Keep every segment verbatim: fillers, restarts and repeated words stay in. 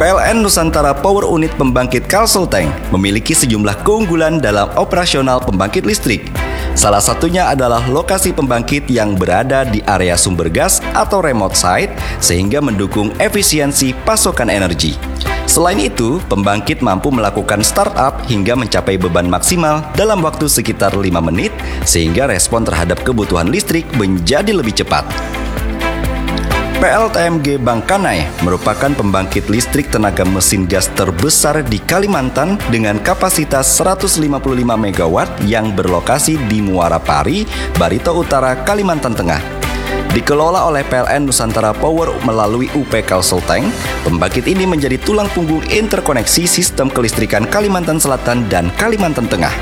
P L N Nusantara Power Unit Pembangkit Kalsel Tank memiliki sejumlah keunggulan dalam operasional pembangkit listrik. Salah satunya adalah lokasi pembangkit yang berada di area sumber gas atau remote site, sehingga mendukung efisiensi pasokan energi. Selain itu, pembangkit mampu melakukan startup hingga mencapai beban maksimal dalam waktu sekitar lima menit, sehingga respon terhadap kebutuhan listrik menjadi lebih cepat. P L T M G Bangkanai merupakan pembangkit listrik tenaga mesin gas terbesar di Kalimantan dengan kapasitas seratus lima puluh lima megawatt yang berlokasi di Muara Pari, Barito Utara, Kalimantan Tengah. Dikelola oleh P L N Nusantara Power melalui U P Kalsel Tank, pembangkit ini menjadi tulang punggung interkoneksi sistem kelistrikan Kalimantan Selatan dan Kalimantan Tengah.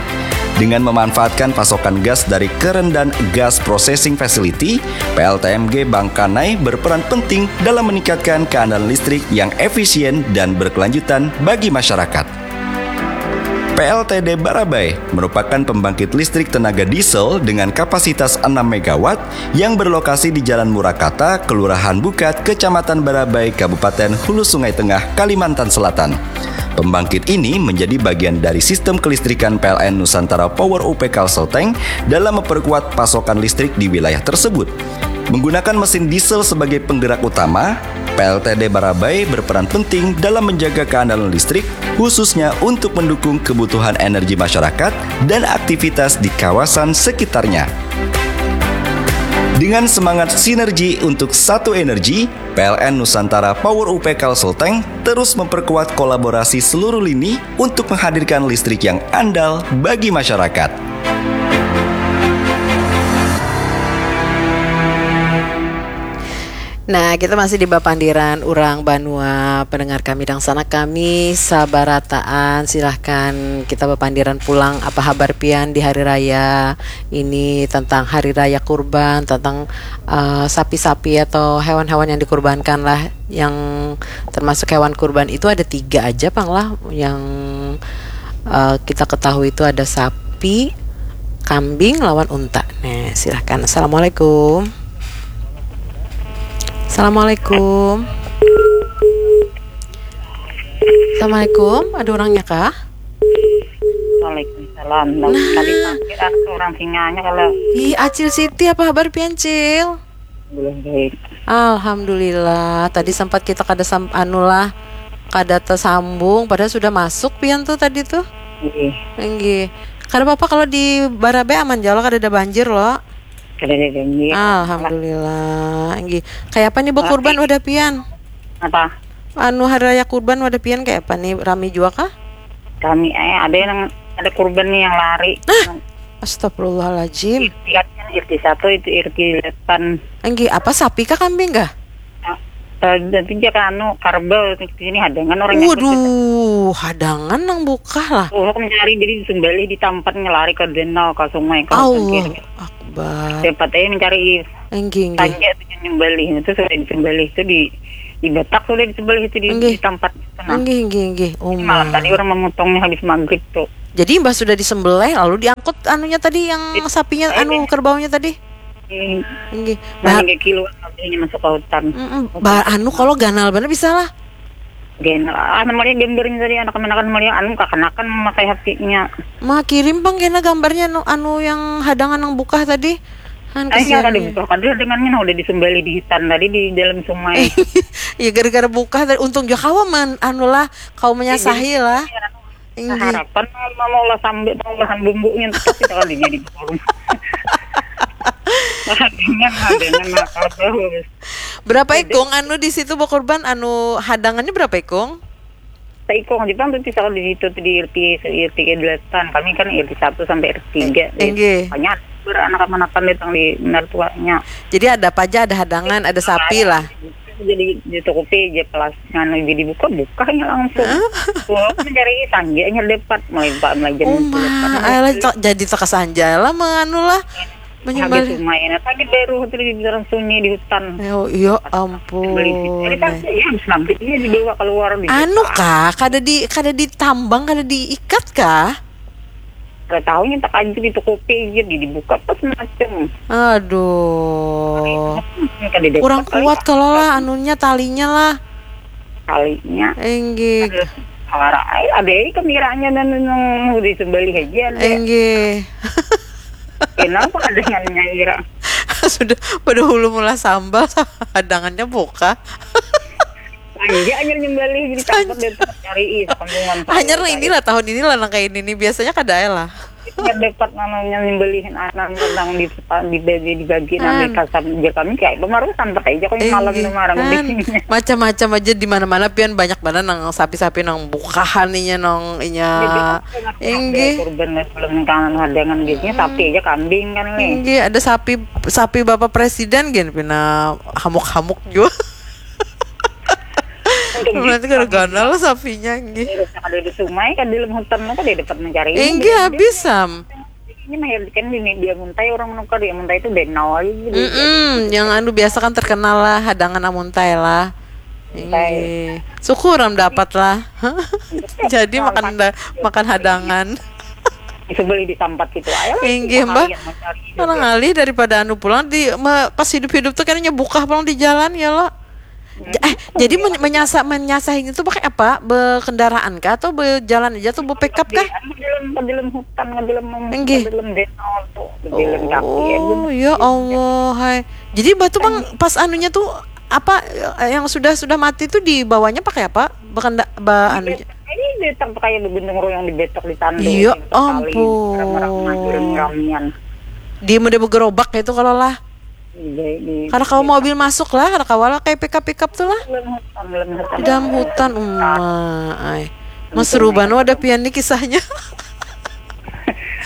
Dengan memanfaatkan pasokan gas dari Kerendan Gas Processing Facility, P L T M G Bangkanai berperan penting dalam meningkatkan keandalan listrik yang efisien dan berkelanjutan bagi masyarakat. P L T D Barabai merupakan pembangkit listrik tenaga diesel dengan kapasitas enam megawatt yang berlokasi di Jalan Murakata, Kelurahan Bukat, Kecamatan Barabai, Kabupaten Hulu Sungai Tengah, Kalimantan Selatan. Pembangkit ini menjadi bagian dari sistem kelistrikan P L N Nusantara Power U P Kalsel Tank dalam memperkuat pasokan listrik di wilayah tersebut. Menggunakan mesin diesel sebagai penggerak utama, P L T D Barabai berperan penting dalam menjaga keandalan listrik, khususnya untuk mendukung kebutuhan energi masyarakat dan aktivitas di kawasan sekitarnya. Dengan semangat sinergi untuk satu energi, P L N Nusantara Power U P Kalsel Tank terus memperkuat kolaborasi seluruh lini untuk menghadirkan listrik yang andal bagi masyarakat. Nah, kita masih di bapandiran urang banua, pendengar kami, dangsanak kami sabarataan. Silahkan kita bapandiran pulang, apa habar pian di hari raya ini, tentang hari raya kurban, tentang uh, sapi-sapi atau hewan-hewan yang dikurbankan lah. Yang termasuk hewan kurban itu ada tiga aja pang lah, yang uh, kita ketahui itu ada sapi, kambing lawan unta. Nah, silahkan. Assalamualaikum. Assalamualaikum. Assalamualaikum, ada orangnya kah? Waalaikumsalam. Nah, tadi mampir ada orang singanya kalau. Ih, Acil Siti, apa kabar pian, Cil? Belum baik. Alhamdulillah. Tadi sempat kita kada sam anu lah, kada tersambung, padahal sudah masuk pian tuh tadi tuh. Iya. Enggih. Kada apa-apa kalau di Barabe aman jalo, kada ada banjir lo. Kada ada banjir. Alhamdulillah. Enggih. Kayak apa nih, Bu, kurban udah pian? Apa? Anu, hari raya kurban wadah pian kayak apa nih? Rami jua kah? Rami, eh, ada yang, ada kurban nih yang lari. Nah, astagfirullahaladzim. Irti kan, irti satu itu irti depan. Enggi, apa, sapi kah, kambing kah? Tapi dia kan anu, karbel di sini hadangan orang. Waduh, hadangan nang bukah lah. Oh, aku mencari jadi sumbalih di tempat ngelari ke danau, ke sungai, ke Allah. Akbar. Dapat aja mencari. Enggih, enggih. Tanja itu nyembelih itu sudah disembelih itu di di Batak sudah disembelih itu di, di tempat itu nah. Enggih, enggih, enggih. Oh, malam tadi orang memotongnya habis maghrib tuh. Jadi mbah sudah disembelih lalu diangkut anunya tadi yang sapinya eh, anu kerbaunya tadi. Enggih. Nah, kilo masuk ke hutan. Mm -mm. Bah, anu kalau ganal bener bisa lah. Gen, ah, namanya gambarnya tadi anak-anak namanya anu kakanakan memakai hatinya. Ma kirim pang kena gambarnya anu, anu yang hadangan nang bukah tadi. Han kesian. Ada bukah kan dengannya nah, udah disembelih di hutan tadi di dalam sungai. Ya gara-gara bukah tadi untung juga kawa man anu lah kau menyasahi lah. Harapan mau lah sambil mau bahan bumbunya tetap kita kali jadi forum. Dengan dengan nakal terus. Berapa ikung anu di situ bakurban anu hadangannya berapa ikung? Saikung aja pang tuh kalau di situ tuh di RT RT delapan kami kan RT satu sampai RT tiga eh, enggih. Banyak beranak-anakan datang di benar tuanya. Jadi ada apa aja, ada hadangan, ada sapi lah. Jadi di toko P aja kelas nganu jadi buka bukanya langsung. Huh? Mencari sangge hanya dapat mulai pak mulai jam. Oh, jadi terkesan aja lah menganu lah. Menyembah. Habis lumayan tadi baru tadi bicara sunyi di hutan. Oh, iya ampun. Beli tadi kan ya habis maghrib ini dibawa keluar di. Anu kah, kada di kada ditambang, kada diikat kah? Kada tahu yang tak aja di toko P aja di dibuka pas macam. Aduh. Kurang kuat kalau lah anunya talinya lah. Kalinya. Inggih. Ada suara, ai, ada ai kameranya dan nang disembelih aja ada. Inggih. Kenapa ada nyaira? Sudah pada hulu mula sambal, hadangannya buka. Sanja hanyar nyembelih jadi takut dan cari ih sakampungan. Hanyar lah inilah tahun inilah nang kayak ini nih, biasanya kada ya lah. Kada dapat namanya nyembelihin anak nang di di di dibagi nang kasam jar kami kayak baru sampai aja kok malam tu marang. Macam-macam aja di mana-mana pian banyak banar nang sapi-sapi nang bukahan inya nang inya. Inggih. Kurban lah sebelum kangen hadangan biasanya sapi aja kambing kan nih. Inggih, ada sapi sapi bapak presiden gin pina hamuk-hamuk jua. Berarti kada ganal lah sapinya inggih. Kada ada sungai kan di dalam hutan lo kada dapat mencari. Inggih habis sam. Ini mah kan di dia muntai orang nukar dia muntai itu denau aja gitu. Mm-mm, yang anu biasa kan terkenal lah hadangan amuntai lah. Inggih. Syukur am dapat lah. Jadi makan da- makan hadangan. Sebeli ditampat gitu aja lah. Inggih mbah. Mana ngalih daripada anu pulang di ma- pas hidup-hidup tuh kayaknya bukah pulang di jalan ya lo. J- eh jadi men- menyasa menyasah ini tuh pakai apa? Berkendaraan kah atau berjalan aja tuh berpikap kah? Anu, dalam dalam hutan dalam Inggih. Dalam denau tuh dalam kaki aja. Oh ya Allah hai. Jadi batu bang pas anunya tuh apa eh, yang sudah sudah mati tuh dibawanya pakai apa? Berkenda ba anu. Ini betok kayak begendeng royong di betok di tandu. Iya ampun. Ramian. Dia udah bergerobak itu kalau lah. Karena kalau mobil masuk lah, karena kawal kayak pickup pickup tuh lah. Di dalam hutan uma, ay. Mas Ruban ada pian nih kisahnya.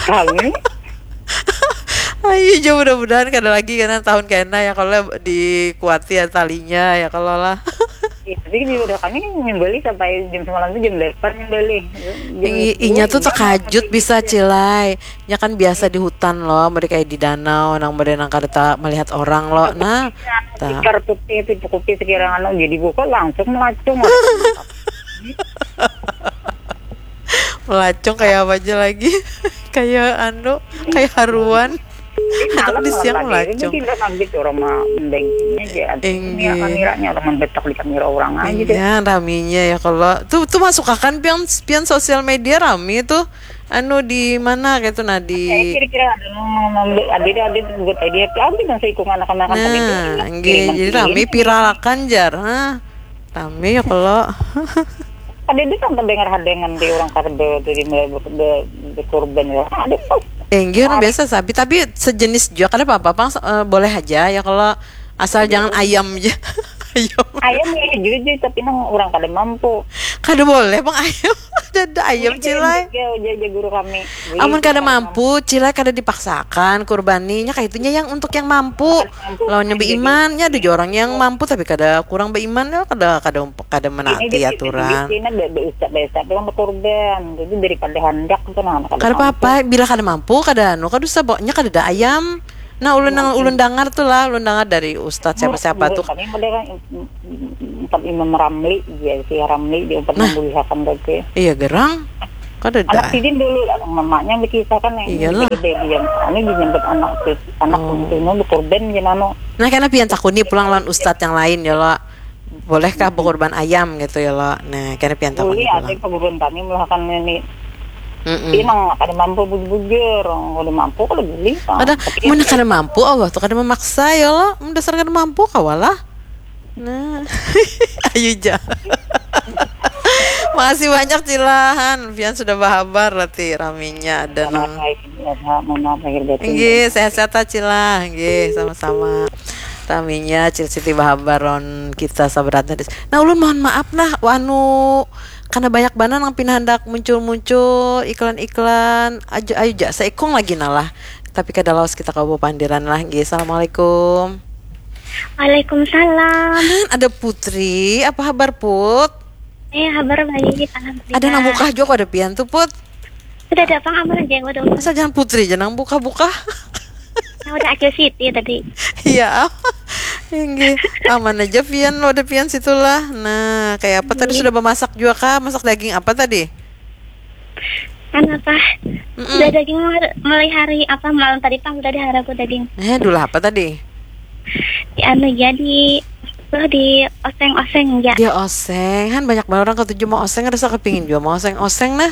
Kami. Ayo jo mudah-mudahan kada lagi karena tahun kena ya kalau dikuati ya talinya ya kalau lah. Ya, tapi ini udah kami nyembeli sampai jam semalam tuh jam delapan nyembeli. Jam Ih, inya tuh sepuluh, terkajut bisa cilai. Nya kan biasa di hutan loh, mereka di danau, nang mereka nang kada ta- melihat orang loh. Nah, ta- Tikar putih itu cukupi sekirang anu jadi buka langsung melacung. Melacung kayak apa aja lagi? Kayak anu, kayak haruan. Anak di siang melacung. Tidak kaget orang mah mendengkinya aja. Ini kameranya orang mendetak di kamera orang aja deh. Iya, raminya ya kalau tuh tuh masuk akan pian pian sosial media rami tuh. Anu di mana gitu nah di kira-kira ada ada ada buat idea tapi nang seikung anak-anak nah, nggih, jadi rami viral akan jar, ha. Rami ya kalau ada itu kan terdengar hadangan di orang karbe jadi mulai berkorban ya ada tuh. Enggih, orang biasa sapi tapi sejenis juga kada apa-apa pang eh, boleh aja ya kalau asal jangan ayam aja. Ayam. Ayam ya juga tapi nang orang kada mampu. Kada boleh bang ayam. Ada ayam cilai. Jaga guru kami. Amun kada mampu, cilai kada dipaksakan kurbaninya kaitunya yang untuk yang mampu. Lawannya beimannya ada orang yang mampu tapi kada kurang beiman ya kada kada kada menaati aturan. Ini dia ustaz biasa orang berkorban. Jadi daripada hendak tuh nah kada apa-apa bila kada mampu kada anu kada usah pokoknya kada ada ayam. Nah, ulun nang ulun dangar tu lah, ulun dangar dari ustaz siapa-siapa tu. Kami model kan empat Imam Ramli, ya si Ramli dia empat nah, membulihakan tadi. Iya gerang. Kada ada. Anak sidin dulu lah, mamanya berkisah kan yang gede dia. Ini dinyebut anak anak oh. Itu mau berkorban gimana? Nah, karena pian takuni pulang lawan ustaz yang lain ya lah. Bolehkah berkorban ayam gitu ya lo? Nah, kena pian takun. Boleh ada pengurun kami melakukan ini. Tapi nang kada mampu bujur-bujur, orang kada mampu kalau boleh. Kada, mana kada mampu Allah tuh kada memaksa ya lo. Dasar kada mampu kawalah. Nah, ayo ja. Makasih banyak Cilahan, pian sudah bahabar berarti raminya ada nang. Inggih, sehat-sehat aja lah. Inggih, sama-sama. Taminya Cil Siti bahabar lawan kita saberat tadi. Nah, ulun mohon maaf nah, anu karena banyak banar nang pina handak muncul-muncul iklan-iklan. Aja ayo ja seikung lagi nah lah. Tapi kada lawas kita kawa pandiran lah. Inggih, assalamualaikum. Waalaikumsalam. Han, ada Putri, apa habar Put? Eh, habar baik, alhamdulillah. Ada nang bukah juga ada pian tuh Put. Sudah ada pang aman aja yang udah. Masa jangan Putri aja nang buka-buka. Yang udah Acil Siti tadi. Iya. Inggih. Aman aja pian lo ada pian situlah. Nah, kayak apa tadi sudah memasak juga kah? Masak daging apa tadi? Kan apa? Sudah daging mulai hari apa malam tadi pang sudah diharaku daging. Eh, dulu apa tadi? Di anu jadi Lah di oseng-oseng ya. Dia oseng, han banyak banget orang katuju mau oseng, rasa kepingin juga mau oseng-oseng nah.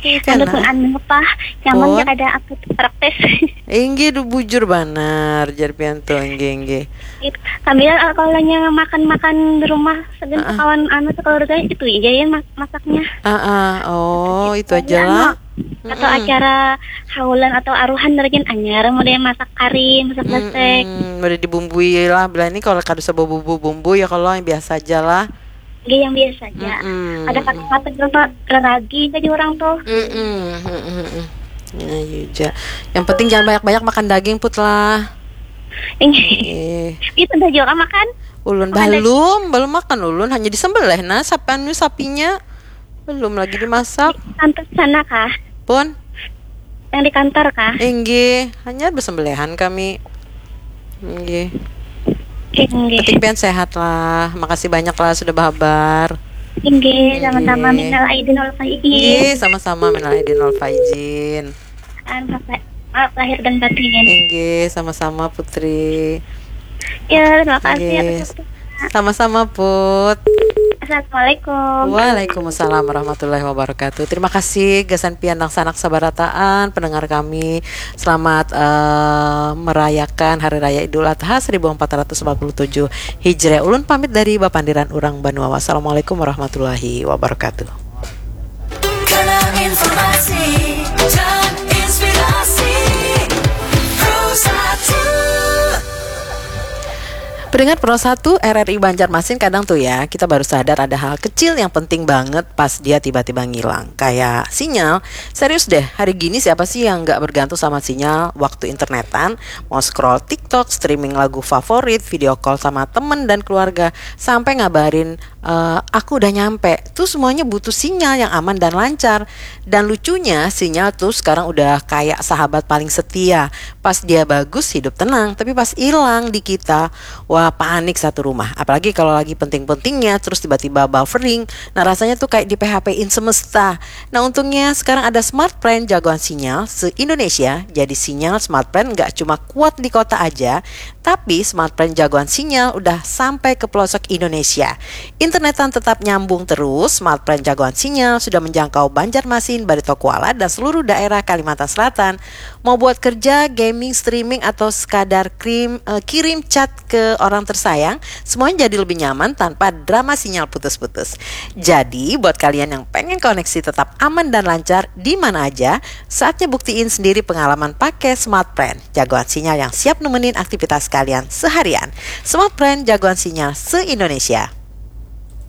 Iya kan Anu nah. Pun anu apa? Nyaman Pun. Ya kada aku praktis. Inggih du bujur banar jar pian tu, inggih inggih. Sambil eh, kalau nya makan-makan di rumah segan Ah. Kawan anu sekeluarga itu aja ya mas masaknya. Ah ah, oh itu aja Anu, lah. Atau acara haulan atau aruhan rajin anyar mau dia masak kari, masak besek. Mm-mm, udah dibumbui lah bila ini kalau kada usah bumbu-bumbu ya kalau yang biasa aja lah. Gaya yang biasa aja. Mm-mm. Ada kata-kata berapa lagi jadi orang tuh. Mm-mm, mm-mm, mm-mm. Ya, iya aja. Yang penting jangan banyak-banyak makan daging put lah. Ini Eh, itu udah juga makan. ulun Makan daging. Belum, belum makan ulun, hanya disembelih nah sapan sapinya. Belum lagi dimasak. Kantor sana kah? Pun, Yang di kantor kah? Inggih, hanya bersembelihan kami. Inggih. Inggih. Penting pian sehat lah. Makasih banyak lah sudah berhabar. Inggih, sama-sama Inggih. Minal Aidin wal Faizin. Inggih, sama-sama minal aidin wal faizin. Maaf, maaf lahir dan batin. Inggih, sama-sama Putri. Ya, terima kasih Inggih. Atas waktunya. Sama-sama Put. Assalamualaikum. Waalaikumsalam warahmatullahi wabarakatuh. Terima kasih gasan pian dangsanak sabarataan pendengar kami. Selamat eh, merayakan Hari Raya Idul Adha seribu empat ratus empat puluh tujuh Hijriah. Ulun pamit dari Bapandiran Urang Banua. Wassalamualaikum warahmatullahi wabarakatuh. Kanal informasi dan inspirasi Pro satu. Pendengar Pro satu R R I Banjarmasin, kadang tuh ya kita baru sadar ada hal kecil yang penting banget pas dia tiba-tiba ngilang. Kayak sinyal. Serius deh, hari gini siapa sih yang nggak bergantung sama sinyal? Waktu internetan, mau scroll TikTok, streaming lagu favorit, video call sama temen dan keluarga, sampai ngabarin eh, aku udah nyampe. Tuh semuanya butuh sinyal yang aman dan lancar. Dan lucunya sinyal tuh sekarang udah kayak sahabat paling setia. Pas dia bagus hidup tenang, tapi pas hilang di kita, wah panik satu rumah. Apalagi kalau lagi penting-pentingnya terus tiba-tiba buffering. Nah rasanya tuh kayak di P H P-in semesta. Nah untungnya sekarang ada Smart Plan jagoan sinyal se-Indonesia. Jadi sinyal Smart Plan nggak cuma kuat di kota aja, tapi Smart Plan jagoan sinyal udah sampai ke pelosok Indonesia. Internetan tetap nyambung terus, Smart Plan jagoan sinyal sudah menjangkau Banjarmasin, Barito Kuala, dan seluruh daerah Kalimantan Selatan. Mau buat kerja, gaming, streaming, atau sekadar krim, eh, kirim chat ke orang tersayang, semuanya jadi lebih nyaman tanpa drama sinyal putus-putus. Jadi, buat kalian yang pengen koneksi tetap aman dan lancar di mana aja, saatnya buktiin sendiri pengalaman pakai Smart Plan, jagoan sinyal yang siap nemenin aktivitas kalian seharian. Smart Plan, jagoan sinyal se-Indonesia.